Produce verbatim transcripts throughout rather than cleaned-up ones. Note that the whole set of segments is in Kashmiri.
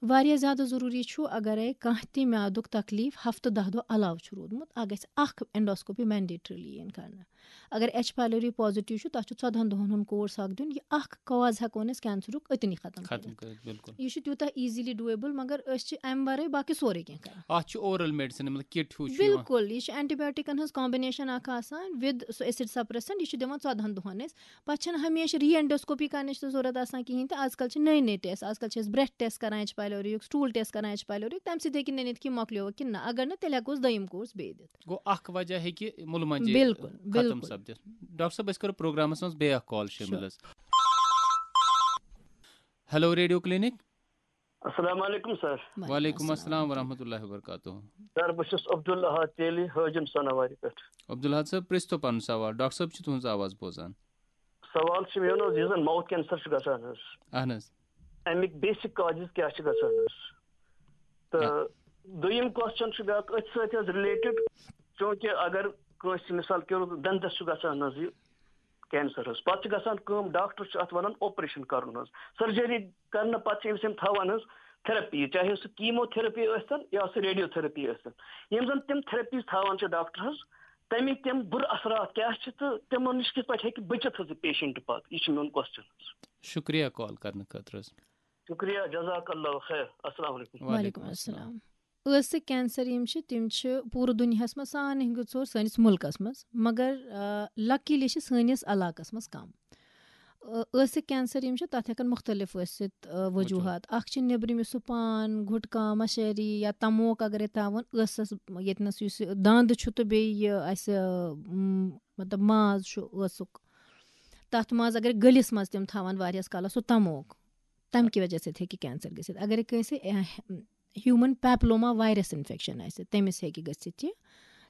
واریاہ زیادٕ ضروٗری چھُ، اگرے کانٛہہ تہِ میادُک تکلیٖف ہفتہٕ دَہ دۄہ علاوٕ چھُ روٗدمُت، اَتھ گژھِ اکھ endoscopy mandatorily یِنۍ کرنہٕ۔ اگر ایچ پایلوری پازیٹیو چھُ، تَتھ چھُ ژۄدہَن دۄہَن ہُنٛد کورس اکھ دیُن۔ یہِ اکھ کاز ہٮ۪کو نہٕ أسۍ کینسرُک أتنی ختم ختم کٔرِتھ۔ کٔرِتھ، بِلکُل۔ یہِ چھُ تیوٗتاہ easily doable، مگر أسۍ چھِ اَمہِ ورٲے باقٕے سورُے کینٛہہ کران۔ اَتھ چھُ oral medicine، مطلب، کِٹ ہیوٗ چھُ یِوان۔ بِلکُل، یہِ چھُ اینٹی بایوٹکن ہٕنٛز combination اکھ آسان with سُہ acid suppressant۔ یہِ چھُ دِوان ژۄدہَن دۄہَن أسۍ۔ پَتہٕ چھَنہٕ ہمیشہِ re endoscopy کرنٕچ تہِ ضروٗرت آسان کِہیٖنۍ تہِ۔ آز کل چھِ نٔے نٔے ٹیسٹ، آز کل چھِ أسۍ breath test کران ایچ پایلوریُک، stool test کران ایچ پایلوریُک، تَمہِ سۭتۍ ہیٚکہِ نٔنِتھ کہِ مۄکلیو کِنہٕ نہ۔ اگر نہٕ، تیٚلہِ ہٮ۪کو أسۍ دوٚیِم کورس بیٚیہِ دِتھ۔ گوٚو، اکھ وجہ ہیٚکہِ مُلہٕ مۄنجہِ بِلکُل، ختم بِلکُل۔ سپدِتھ۔ ڈاکٹر صٲب، أسۍ کرو پروگرامس منٛز بیٚیہِ اکھ کال شٲمِل۔ Sure۔ حظ۔ Hello radio clinic. السلام علیکم سر۔ وعلیکم السلام ورحمۃ اللہ وبرکاتہ۔ سر، بہٕ چھُس عبدالاحد تیلی، حٲجِم سناواری پٮ۪ٹھ۔ عبدالاحد صٲب، پرٛژھتو پنُن سوال، ڈاکٹر صٲب چھِ تُہنٛز آواز بوزان۔ سوال چھُ مےٚ، یُس زن mouth cancer چھُ گژھان حظ، اہن حظ۔ اَمِکۍ basic causes کیٛاہ چھِ گژھان حظ؟ تہٕ دوٚیِم question چھُ بیٛاکھ أتھۍ سۭتۍ حظ related، چوٗنٛکہِ اگر کٲنٛسہِ مثال کے طور پر دنٛدس چھُ گژھان حظ یہِ cancer حظ، پتہٕ چھِ گژھان کٲم، ڈاکٹر چھُ اتھ ونان operation کرُن حظ، surgery کرنہٕ پتہٕ چھِ أمِس یِم تھاوان حظ therapy، چاہے سُہ chemotherapy ٲسۍتن یا سُہ radiotherapy ٲسۍتن۔ یِم زن تِم therapies تھاوان چھِ ڈاکٹر حظ، تَمِکۍ تِم بُرٕ اثرات کیٛاہ چھِ تہٕ تِمن نِش کِتھ پٲٹھۍ ہیٚکہِ بٔچِتھ حظ یہِ patient پتہٕ؟ یہِ چھُ میون question حظ۔ شُکریہ call کرنہٕ خٲطرٕ حظ۔ شُکریہ، جزاک اللہ خیر۔ السلام علیکم۔ وعلیکم السلام۔ ٲسہٕ کینسر یِم چھِ، تِم چھِ پوٗرٕ دُنیاہَس منٛز سارنٕے ہٕنٛدِ ژور سٲنِس مُلکَس منٛز، مگر، آ، luckily چھِ سٲنِس علاقَس منٛز کَم۔ آ، ٲسہٕ کینسر یِم چھِ، تَتھ ہٮ۪کَن مُختٔلِف ٲسِتھ، آ، وجوٗہات۔ وجوٗہات۔ اَکھ چھِ نیٚبرِم یُس سُہ پان، گُٹکا، مَشٲرۍ یا تموک اگرے تھاوُن، ٲسَس ییٚتہِ نَس یُس یہِ دَنٛد چھُ تہٕ بیٚیہِ یہِ اَسہِ، م، مطلب ماز چھُ ٲسُک، تَتھ منٛز اگرے گٔلِس منٛز تِم تھاوَن واریاہَس کالَس سُہ تموک، تَمہِ کہِ وجہ سۭتۍ ہیٚکہِ کینسر گٔژھِتھ۔ اگرے کٲنٛسہِ، اہ، human papilloma virus infection آسہِ، تٔمِس ہیٚکہِ گٔژھِتھ یہِ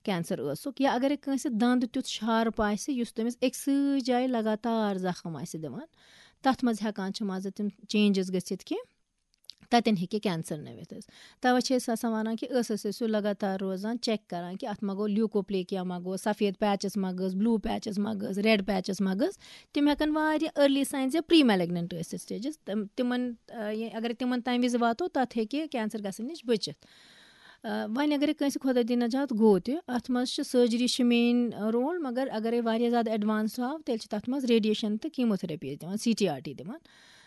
کینسر ٲسُک۔ یا اگرے کٲنٛسہِ دَنٛد تیُتھ sharp آسہِ، یُس تٔمِس أکسٕے جایہِ لگاتار زخم آسہِ دِوان، تَتھ منٛز ہٮ۪کان چھِ منٛزٕ تِم changes گٔژھِتھ کہِ تَتٮ۪ن ہیٚکہِ کینسر نٔوِتھ حظ۔ تَوَے چھِ أسۍ آسان وَنان کہِ ٲسَس ٲسِو لگاتار روزان، check کران کہِ اَتھ ما گوٚو leukoplakia، ما گوٚو سفید patches ما گٔژھ، blue patches ما گٔژھ، red patches ما گٔژھ۔ تِم ہٮ۪کَن واریاہ early signs یا pre malignant ٲسِتھ stages۔ تِم، تِمَن، آ، یہِ، اگر تِمَن تَمہِ وِزِ واتو، تَتھ ہیٚکہِ کینسر گژھنہٕ نِش بٔچِتھ۔ آ، وۄنۍ اگرے کٲنٛسہِ خۄدا دِنَجات گوٚو تہِ، اَتھ منٛز چھِ surgery چھِ main role، مگر اگرے واریاہ زیادٕ advance آو، تیٚلہِ چھِ تَتھ منٛز radiation تہٕ chemotherapy أسۍ دِوان، C T R T دِوان۔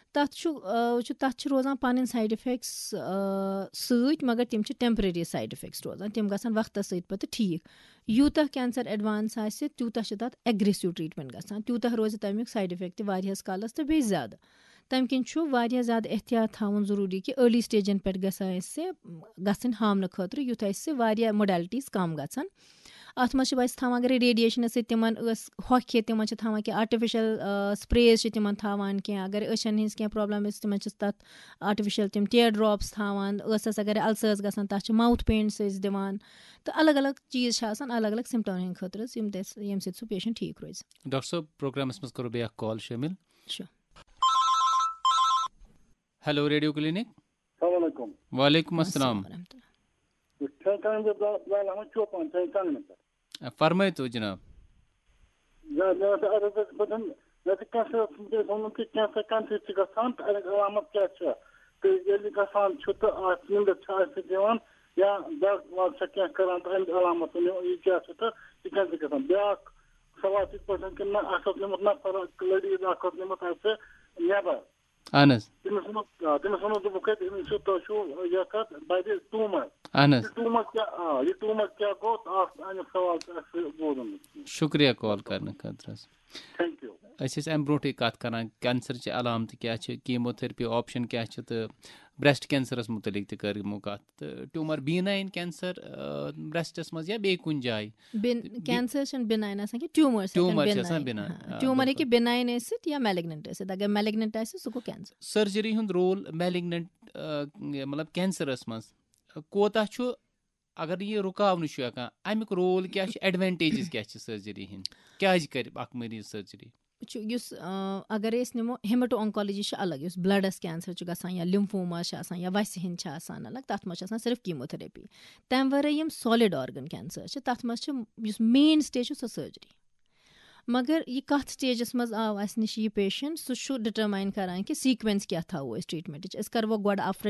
تَتھ چھُ، آ، چھُ، تَتھ چھِ روزان پَنٕنۍ side effects، آ، سۭتۍ، مگر تِم چھِ temporary side effects روزان، تِم گژھن وقتَس سۭتۍ پَتہٕ ٹھیٖک۔ یوٗتاہ کینسر advance آسہِ، تیوٗتاہ چھِ تَتھ aggressive treatment گژھان، تیوٗتاہ روزِ تَمیُک side effect تہِ واریاہَس کالَس تہٕ بیٚیہِ زیادٕ۔ تَمہِ کِنۍ چھُ واریاہ زیادٕ احتیاط تھاوُن ضروٗری کہِ early stageن پٮ۪ٹھ گژھِ اَسہِ گژھٕنۍ ہاونہٕ خٲطرٕ، یُتھ اَسہِ واریاہ modalities کَم گژھن۔ اَتھ منٛز چھِ أسۍ تھاوان، اگر radiationس سۭتۍ تِمن ٲس ہۄکھِ، تِمن چھِ تھاوان کینٛہہ artificial، آ، sprays چھِ تِمن تھاوان کینٛہہ، اگر أچھن ہٕنٛز کینٛہہ problem ٲس، تِمن چھِ تَتھ artificial تِم tear drops تھاوان، ٲسس اگر ulcers گژھان، تَتھ چھِ mouth paints أسۍ دِوان، تہٕ الگ الگ چیٖز چھِ آسان الگ الگ symptomن ہٕنٛدِ خٲطرٕ، یِم تہِ اَسہِ، ییٚمہِ سۭتۍ سُہ patient ٹھیٖک روزِ۔ ڈاکٹر صٲب، پروگرامس منٛز کرو بیٚیہِ اکھ call شٲمِل۔ Sure۔ Hello radio clinic. السلام علیکم۔ وعلیکم السلام۔ ورحمۃ اللہ۔ بہٕ چھُس کامہِ پٮ۪ٹھ بلال احمد چوپان، چھُس کامہِ پٮ۪ٹھ۔ فرمٲیتو جناب۔ نہ، مےٚ ٲس عرض ٲس بہٕ دِمہٕ، مےٚ چھُ کینسر، تٔمۍ ووٚنمُت کہِ کینسر کَمہِ سۭتۍ چھُ گژھان تہٕ اَمیُک علامت کیٛاہ چھُ؟ تہٕ ییٚلہِ گژھان چھُ تہٕ اَتھ نیٚنٛدٕر چھا اَسہِ دِوان یا دگ وگ چھا کینٛہہ کران تہٕ اَمیُک علامت ؤنِو، یہِ کیٛاہ چھُ تہٕ یہِ کَمہِ سۭتۍ گژھان؟ بیٛاکھ سوال چھُ یِتھ پٲٹھۍ کہِ نہ، اَسہِ اوس نیوٗمُت نفر اکھ، لٔڈیٖز اکھ اوس نیوٗمُت اَسہِ نٮ۪بر۔ اہن حظ۔ تٔمِس ووٚنُکھ، آ، تٔمِس ووٚنُکھ، دوٚپُکھ، ہے، أمِس چھُ، تۄہہِ چھُو یَتھ اَتھ بَدِ ٹیوٗمَر۔ اہن حظ۔ یہِ ٹیوٗمَر کیٛاہ، آ، یہِ ٹیوٗمَر کیٛاہ گوٚو؟ اَکھ، اَمیُک سوال چھُ اَسہِ بوزُن۔ شُکریہ call کرنہٕ خٲطرٕ حظ۔ Thank you۔ أسۍ ٲسۍ اَمہِ برونٛٹھٕے کَتھ کران، کینسرچہِ علامتہٕ کیٛاہ چھِ، chemotherapy option کیٛاہ چھِ تہٕ breast cancerس مُتعلِق تہِ کٔر یِمو کَتھ۔ تہٕ ٹیوٗمَر benign cancer، آ، breastس منٛز یا بیٚیہِ کُنہِ جایہِ؟ بِن-، بِ-، cancer چھِنہٕ benign آسان کینٛہہ، ٹیوٗمر چھِ آسان ٹیوٗمر چھِ benign۔ آسان benign، ہاں، آ، ٹیوٗمر بِلکُل۔ ہیٚکہِ benign ٲسِتھ یا malignant ٲسِتھ۔ اگر malignant آسہِ، سُہ گوٚو cancer۔ Surgery ہُنٛد role malignant، آ، مطلب cancerس منٛز کوتاہ چھُ؟ اگر یہِ رُکاونہٕ چھُ ہٮ۪کان، اَمیُک role کیٛاہ چھُ؟ Advantages کیٛاہ چھِ surgery ہِنٛدۍ؟ کیٛازِ کَرِ اکھ مریض surgery؟ چھُ یُس، آ، اگر أسۍ نِمو، hemato-oncology چھِ الگ، یُس bloodس cancer چھُ گژھان یا lymphomas چھِ آسان یا وَسہِ ہِنٛدۍ چھِ آسان الگ، تَتھ منٛز چھِ آسان صرف chemotherapy۔ تَمہِ ورٲے یِم solid organ cancer چھِ، تَتھ منٛز چھِ یُس mainstay چھُ سُہ surgery۔ مگر یہِ کَتھ stageس منٛز آو اَسہِ نِش یہِ patient، سُہ چھُ determine کران کہِ sequence کیٛاہ تھاوو أسۍ treatmentٕچ۔ أسۍ کَروا گۄڈٕ upfront